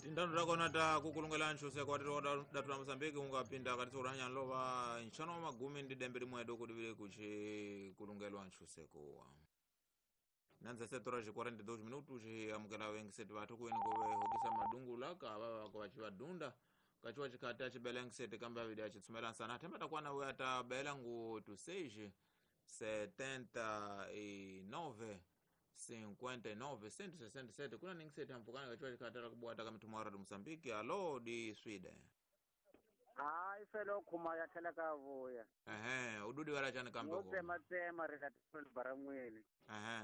Tindano takona ta kukulungela nchuseko watiri datu la Mozambique ungapinda katitso kurahanya nlova nchano wa magumi ndi dembe limwe doko divile kuchi kulungelwa nchuseko wa nanza setora ci 42 minutos amukela wengiseti vathu kuweni kove hokisa madungula ka vava vako vachivadunda kachiwa chikhati achibela ngiseti kambe avidi achitsumela nsana themba takwana we atabela ngu 26 79 59 167 kuna ningiseti ampukana kachiwa chikhati atakubwata kamithumwa wa Mozambique alo di Sweden. Hayi felo khuma ya tlhela ka vuya. Ehe, ududi wala chani kambe Mo ko. tsematsema ri la baramwini. Ehe.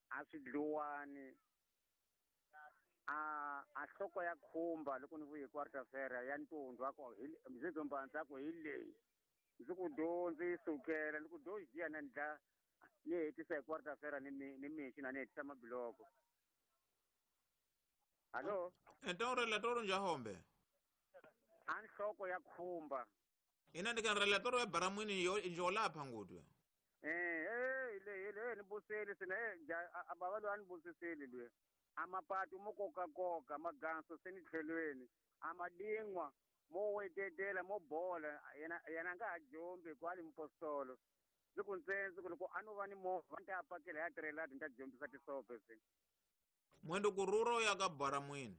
A swi dluwani. A hloko ya khumba loko ni vuye quarta-feira ya ntundu a ku mzizo mbanza ku hi leyi. Ndzi ku do ndzi yi sukela ni ku do jiya na ndla ni hetisa hi quarta-feira ni mixi na ni hetisa mabiloko. Hallo? Então relatório njahombe. A nhloko ya khumba. Ina ndika relatório ya baramwini yo njolapha ngutwe. Le ni buseli sina a baba lo a ni busiseli lwe. A mapatu mo kokakoka maganso se ni tlhelweni. A madingwa mo wetetela mo bola yena nga ha jombi kwali mpostolo. Ndzi ku ntsenzi ku loko a no va ni movha ni ta pakela ya tirhelati ni ta jombisa tisope se. Mwendo kururo ya ka baramwini.